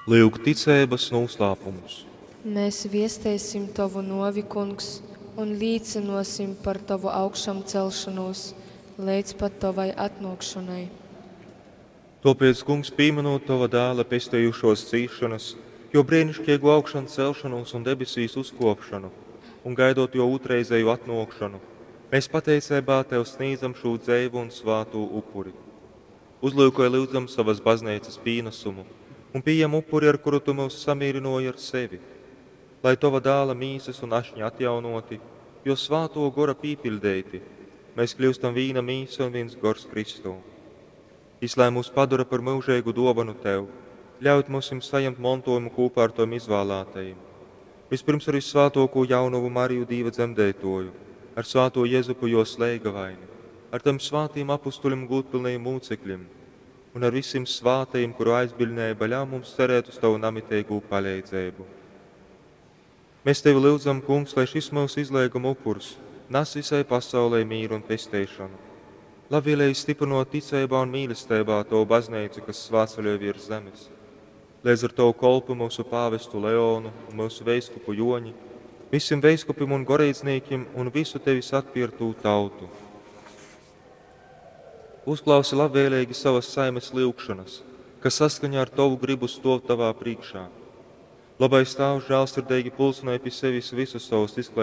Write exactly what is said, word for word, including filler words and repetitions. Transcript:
Lyuk ticeibas nūslāpums. Mēs viesteisim tovu nōvi, Kungs, un līcynōsim par tovu augšamceļšonūs leidz pat tovai atnōkšonai. Tōpēc, Kungs, pīmynūt tova Dāla pestejušōs cīsšonas, jō breiniškeigū augšancelšonūs un debesīs uzkōpšonu un gaidot jō ūtrreizeju atnōkšonu, mēs pateiceibā tev snīdzam šū dzeivu un svātū upuri. Uzlyukoj, lyudzam, sovas bazneicas pīnasumu un pījem upuri, ar kuru tu myus samīrynōji ar sevi. Lai tova Dāla mīsas un ašņa atjaunōti, jō Svātō Gora pīpiļdeiti, mēs kļyustam vīna mīsa un vīns gors Kristū. Jys lai myus padora par myužeigu dōvonu tev, ļaujūt myusim sajemt montōjumu kūpā ar tovim izvālātajim, vyspyrms ar vyssvātōkū Jaunovu Mariju Dīva Dzemdeitōju, ar svātū Jezupu jōs leigavaini, ar tovim svātajim apustulim un gūdpylnajim mūcekļim un ar visim svātajim, kuru aizbiļdneiba ļaun mums cerēt uz tovu namiteigū paleidzeibu. Mēs tevi lyudzam, Kungs, lai šys myusu izleiguma upurs nas visai pasaulei mīru un pesteišonu. Labvēleigi styprynōt ticeibā un mīlesteibā tovu bazneicu, kas svātceļoj viers zemes. Leidz ar tovu kolpu myusu pāvestu Leonu un myusu veiskupu Joņi, visim veiskupim un goreidznīkim un visu tevis atpierktū tautu. Uzklausi labvēlīgi savas saimes lyugšonas, kas saskaņā ar tovu gribu stōv tavā prīškā. Lobais Tāvs žālsirdeigi pulcynoj pi sevis visus savus izklaidušos.